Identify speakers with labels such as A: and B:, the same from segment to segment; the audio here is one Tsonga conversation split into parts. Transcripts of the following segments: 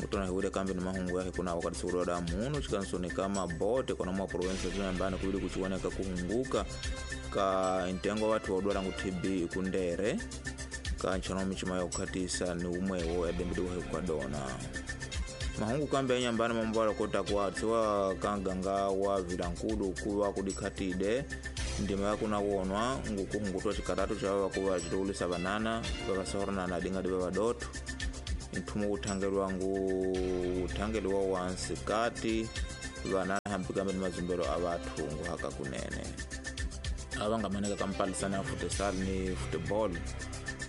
A: Utona hiwile kambi ni mahungu yake kuna wakati sura da muno chikansoni kama bote kona mwa province ya Nyambani kuwili kuchiwoneka kuhunguka ka ntengo watu wa dwala ngu TB kundere ka nchano michima ya kukatisa ni umwewo ya dembidiwa kwa dona. Mahungu kambi ya Nyambani mambala kota kwa tiwa kanganga wa vilankulu kuwa kudikatide ndima ya kuna wonwa ngukuhungutwa chikaratu cha wakuwa chitulisa banana bakasahorana na dinga diba badoto nthumu uthangelwa ngu uthangelwa wansi kati banana hampikambe ni mazumbelo a bathu nguhaka kunene abangamaneka kampalisana ya futsal ni football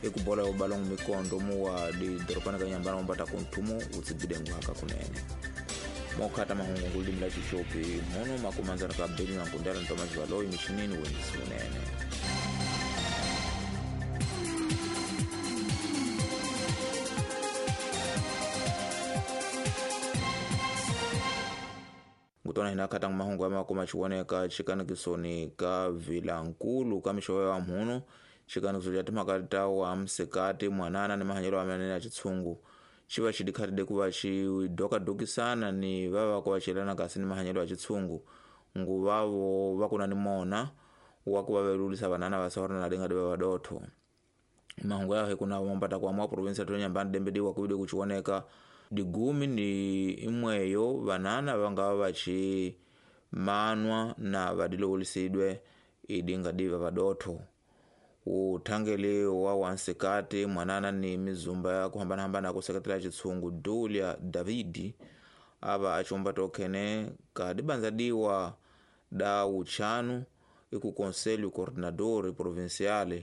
A: ikubola yo balongo mikondo muwa di doropana ka Nyambani mombata kunthumu utsibide nguhaka kunene mokhata mahungu ngulimi la chichopi mono makumanzana ka beli na nkundela ntomazi valoyi michinini wendisi munene. Ngutona hinakata mahungu ama kumachiwoneka chikanikisoni ka vilankulu ka mishowe wa mhuno chikanikiso cha timakata wa msikati mwanana ni mahanyelo amenene ya chitsungu chiva chidikhatide kuva chidokadokisana ni vava kuva kasi ni mahanyelo ya chitsungu nguvavo vakuna ni mona wakuva velulisa vanana vasahorana na dinga diva vadotho. Mahungu yahe kuna mombata kwa mwa provinsi ya Nyambani dembediwa kuwide kuchiwoneka digumi ni imweyo vanana vangava vachi manwa na vadilowulisidwe idinga diva vadotho. Uthangeli wa wansikati mwanana ni mizumba ya kuhambanahambana kuseketela chitsungu Dulia Davidi ava achomba tokhene kadibanza diwa da uchanu iku conselho coordinador provincial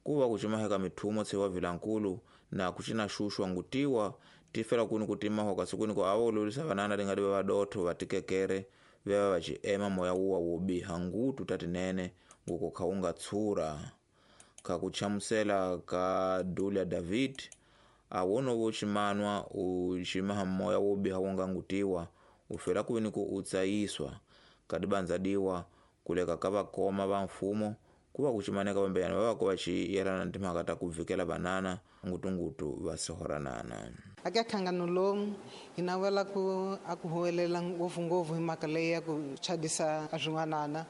A: kuva kuchimaheka mithumo tsewa vilankulu na kuchina shushwa ngutiwa tifela kuni kutimaho kasi ko awo lulisa vanana lingadi vadotho vatikekere veva vachiema moya uwa wobiha ngutu tatinene nguko khaunga tsura. Kakuchamusela ka Dulia David awono wochimanwa uchimaha moya wobiha wonga ngutiwa ufela kuni ku utsayiswa kadibanza diwa kuleka kavakoma va mfumo kuva kuchimaneka vambeyana vava kuva chiyelana na timhaka ta kuvikela vanana ngutungutu va sihoranana.
B: Aka khangano lomu hi navela ku a ku huwelela ngopfungopfu hi mhaka leyi ya ku chadisa a swin'wanana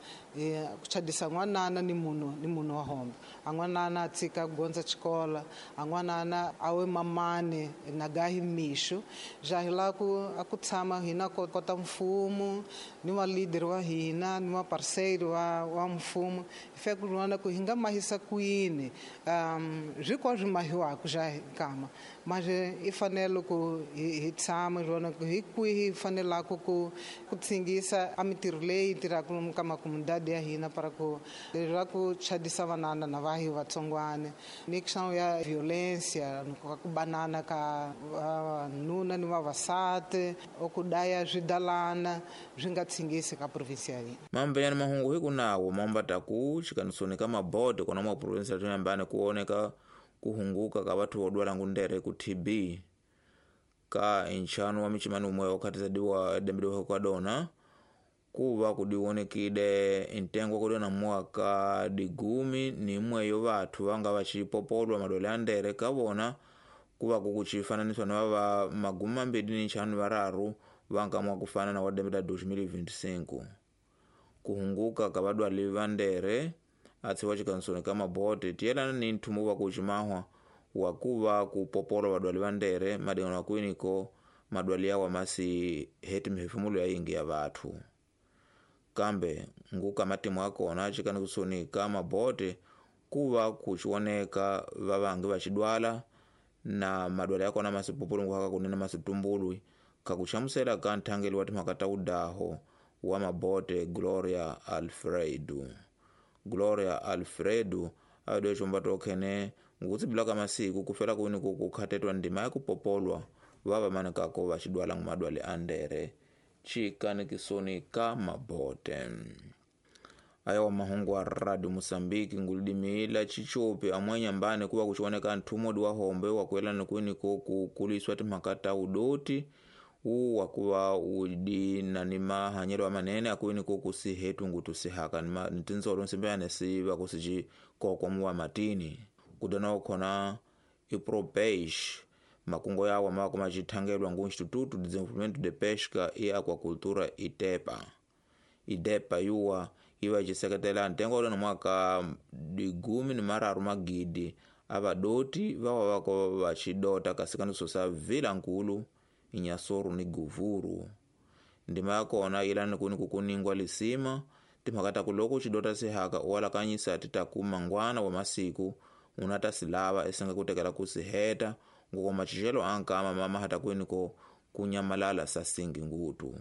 B: ku chadisa n'wanana ni munhu wa hombe a n'wanana a tshika ku gondza xikola a n'wanana a we mamani na gahi mixo ja hi lava ku a ku tshama hina kota mfumo ni wa leader wa hina ni wa parceiro wa mfumo hi fika ku vona ku hi nga mahisa kwini swi kwa swi mahiwaka ja nkama mas i fanele ku hi tshama hi vona ku hi kwihi hi fanelaka ku tsingisa a mintirho leyi tirhaka ka makomunidade ya hina para ku leswaku chadisa vanana na vahi vatsongwana ni questão ya violência ku banana ka vanuna ni vavasati ku daya swidalana swi nga tsingisi ka provinsi ya hina.
A: Mambeyani mahungu hi kunawo mambata ku chikanisoni ka mabodo kona mwa provinsi ya Nyambani kuoneka kuhunguka ka bathu vodwala ngundere ku TB ka inchano wa michimani umwe wakati diwa dembidiwa kwa dona kuva kudionekide intengo kudona mwaka digumi ni imweyo bathu vanga vachipopolwa madwele a ndere kavona kuva kukuchifananiswa na vava magumi mambiri ni nchanu vararu vanga mwakufana na wadembeda 2025 kuhunguka ka vadwali va ndere atsiwa chikansoni ka mabote tiyelana ni nthumu wa kuchimahwa wakuva kupopolwa vadwali va ndere madingano akwiniko madwali yawa masi heti mihefumulo ya ingi ya vathu kambe nguka matimu akona chikanisoni ka mabote kuva kuchioneka vavangi vachidwala na madwala yakona masipopolo nguhaka kunene masitumbulwi kakuchamusela ka nthangeli wa timhaka ta udaho wa mabote Gloria Alfredo. Gloria Alfredo adoe chomba tokhene ngutsibila ka masiku kufela kuni kukhatetwa ndima ya kupopolwa vava manekako vachidwala ngumadwale a ndere chikanikisoni ka mabote. Ayawa mahungu a Radio Mozambique ngulidimila chichopi amwe Nyambani kuva kuchioneka nthumodi wa hombe wakuelana kwiniko kukuliswa timhaka ta udoti uwu wakuva udi na ni mahanyelo amanene akwiniko kusihetu ngutu sihaka ni tintsolo nsimbeyane siva kusici kokwa muwa matini kudona ukhona ipropeish Makungo yawa mawako macithangelwa ngu Instituto de Desenvolvimento de Pesca e Aquacultura ITEPA. IDEPA yuwa iva iciseketela ntengo uleno mwaka 13 magidi avadoti vawa vako vacidota kasikaniso sa vila nkulu Inhassoro ni Govuro. Ndima yakona ilani kuni kukuningwa lisima timhaka taku loko cidota sihaka uwalakanyisa titaku mangwana wa masiku unata silava esenga kutekela kusiheta ngoko macicelo ankama mamahata kwiniko kunyamalala sasingi ngutu.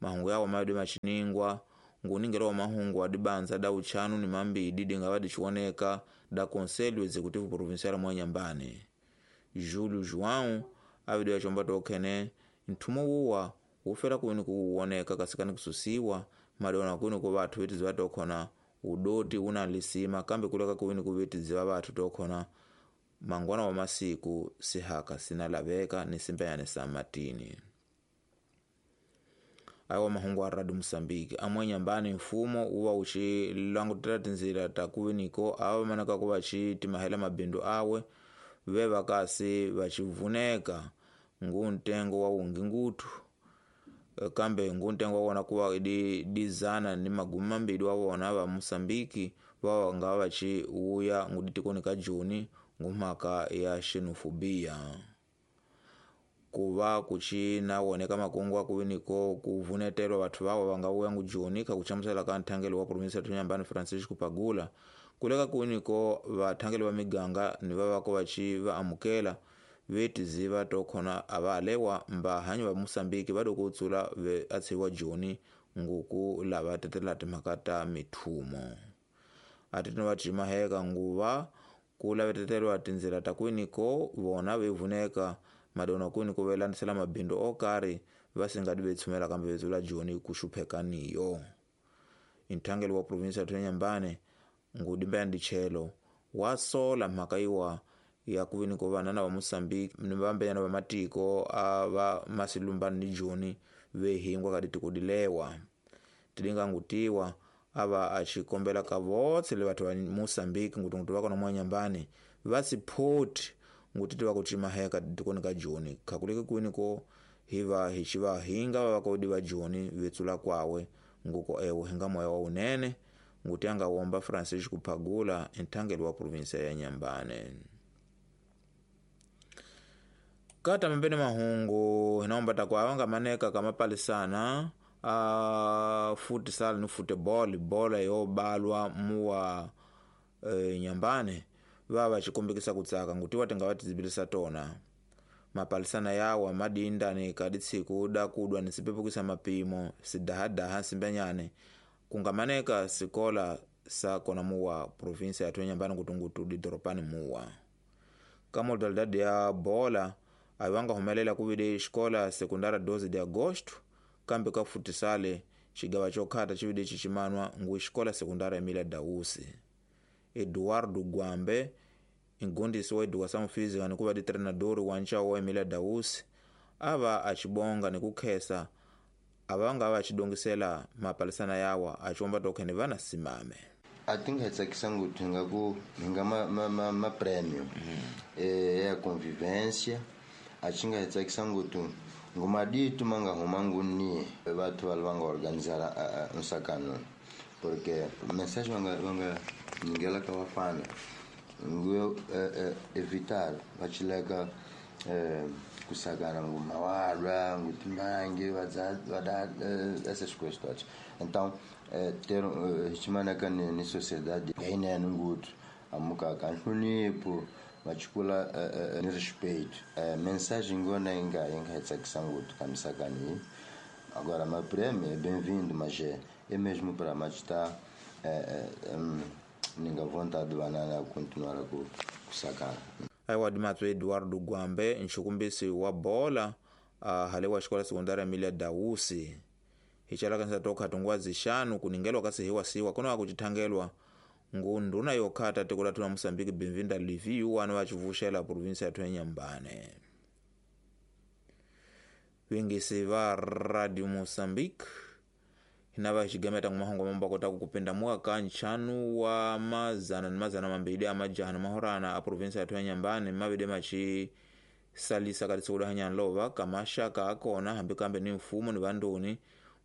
A: Mahungu yawo madi maciningwa nguningela wa mahungu adibanza da uchanu ni mambidi dingava dicioneka da Conselho Executivo Provincial mwa Inhambane. Júlio João avidi acomba tokhene nthumo wuwa wufela kwini kuwoneka kasikani kususiwa madiona kwini ku vathu vitiziva tokhona udoti una lisima kambe kuleka kwini kuvitiziva vathu tokhona mangwana wa masiku sihaka sinalaveka ni simpenyane sa matini. Awa mahungu a Radio Mosambiki amwe Inhambane mfumo uwa ucilangutela tinzila ta kuviniko awa manaka ku vaci timahela mabindu awe ve vakasi vacivuneka ngu ntengo wa wungi ngutu kambe ngu ntengo wa wona kuva dizana ni magumi mambili wa wona va Mosambiki vawa nga vaci wuya nguditikoni ka Juni ngumhaka ya xenofobia. Kuva kucina woneka makungu akuviniko kuvunetelwa vathu vawa vanga wuya ngujoni kha kuchamusela ka nthangelo wa provinsia ya Inhambane Francisco Pagula kuleka kuviniko vathangeli va miganga ni vavako vaci va amukela vetiziva tokhona avalewa mbahanyi va Mosambiki va kutsula ve atshiwa Joni nguku lava tetela timhaka ta mithumo. Atitino va cimaheka nguva ku lavetetelwa tindzela ta kwiniko vona vevuneka madona kwini ku velandisela mabindu okari va singadi vetshumela kambe vetsula Joni kuxuphekaniyo. Nthangelo wa provinsia ya Inhambane ngudimbeya ndichelo wa sola mhaka iwa ya kuviniko vanana va Mosambiki ni vambenyana va matiko a va masilumbani ni Joni vehingwa ka ditiko dilewa. Tidinga ngutiwa ava acikombela ka votse le vathu va Mosambiki ngutungutu va kona mwa Inhambane va siphoti ngutiti va kucimaheka tikoni ka Joni khakuleke kwiniko hiva hixiva hinga va vakodi va Joni vetsula kwawe nguko ewo hinga moya wa unene nguti anga womba Francisco Pagula nthangelo wa provinsia ya Inhambane. Kata mambene mahungu hinaomba takwa nga maneka kamapalisana a futsal ni football bola yo balwa muwa Inhambane vava chikombekisa kutsaka ngutiwa tinga tizibilisa tona. Mapalisana yawa madinda ni kaditsiku da kudwa ni sipepukisa mapimo sidahadaha simbenyane kungamaneka sikola sa kona muwa provinsia ya Inhambane kutungutu didoropani muwa. Ka modalidade ya bola ayiwanga humelela kuvile xikola sekundara 12 de agosto kambe ka futisale xigawa xokhata xivile xiximanwa ngu xikola sekundara Emilia Dausi. Eduardo Gwambe ingundisi wa educação física ni kuva di-treinador wa nxavo wa Emilia Dausi ava acibonga ni kukhesa avanga va xidongisela mapalisana yawa aciomba tokhene vana simame.
C: A ti nga hi tsakisa ngopfu hi nga ku hi nga ma prêmio ya convivência a xi nga hi tsakisa ngopfu ngumadito ma nga huma nguni vathu va va nga organizara nsakano porque mensagem va nga nyikela ka vafana ngu evitar va chileka kusakana ngumawalwa ngutimbangi vada essas coisas todas. Então ter hichimanaka ni sociedade yinene nguthu amukaka nhlonipho vachikula ni respeito. Mensagem ngona inga hi tsakisa nguthu ka misakani. Agora ma prêmio é bem-vindo, mas é mesmo para matar ninga vontade banana continuar ku kusakana.
A: Aiwa dimatso Eduardo Gwambe nxukumbisi wa bola hale wa xikola sekundari Emilia Dausi hichalaka tokha tungwa zixanu kuningelwa kasi hiwasiwa kono akucithangelwa ngu nduna yokhata tiko lathu la Mosambiki Benvinda Livi yuwanu vacivuxela provinsia yathu ya Inhambane. Vingisi va Radio Mosambiki hinava xigameta ngumahongo mambo kota kukupinda mwaka nchanu wa mazana ni mazana mambili a majaha na mahorana a provinsia yathu ya Inhambane mavide machi Salisa ka titsula hanyanlova ka maxaka akona hambi kambe ni mfumo ni vandoni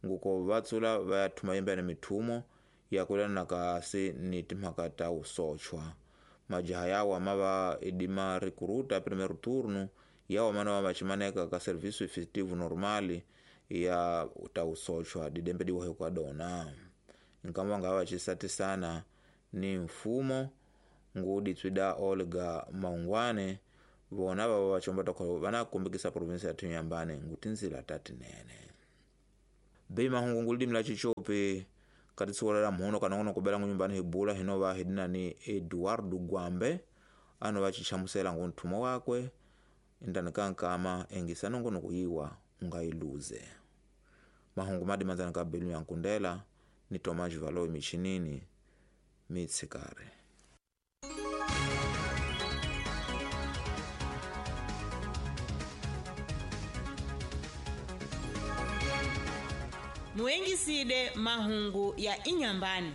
A: nguko va tsula va ya thuma yembene mithumo ya kulana kasi ni timhaka ta usochwa. Majaha yawa ma va idima recruta primeiro turno yawa mana va vachimaneka ka serviço efetivo normal ya ta usochwa didembe diwa kwa dona. Nkama nga va chisatisana ni mfumo ngudi tswida Olga Maungwane vona va va chomba ta vana kumbikisa province ya Inhambane ngutinzila tatinene. Bei mahungu ngulidimi la chichope katitsuwala la mhono kana ngono kubela ngunyumbani hibula hino va hidina ni Eduardo Gwambe ano va chichamusela ngunthumo wakwe indani kankama engisa nongono kuyiwa ungailuze. Mahungu madi manzana ka belu ya nkundela ni Tomás Valoi michinini mitsikare.
D: Muengiside mahungu ya Inhambane.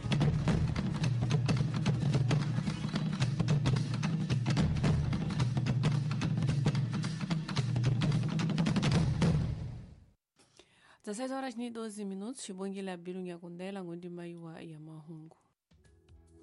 E: 16h12 minutos, xibongile abilu nyakundela ngondima yiwa ya mahungu.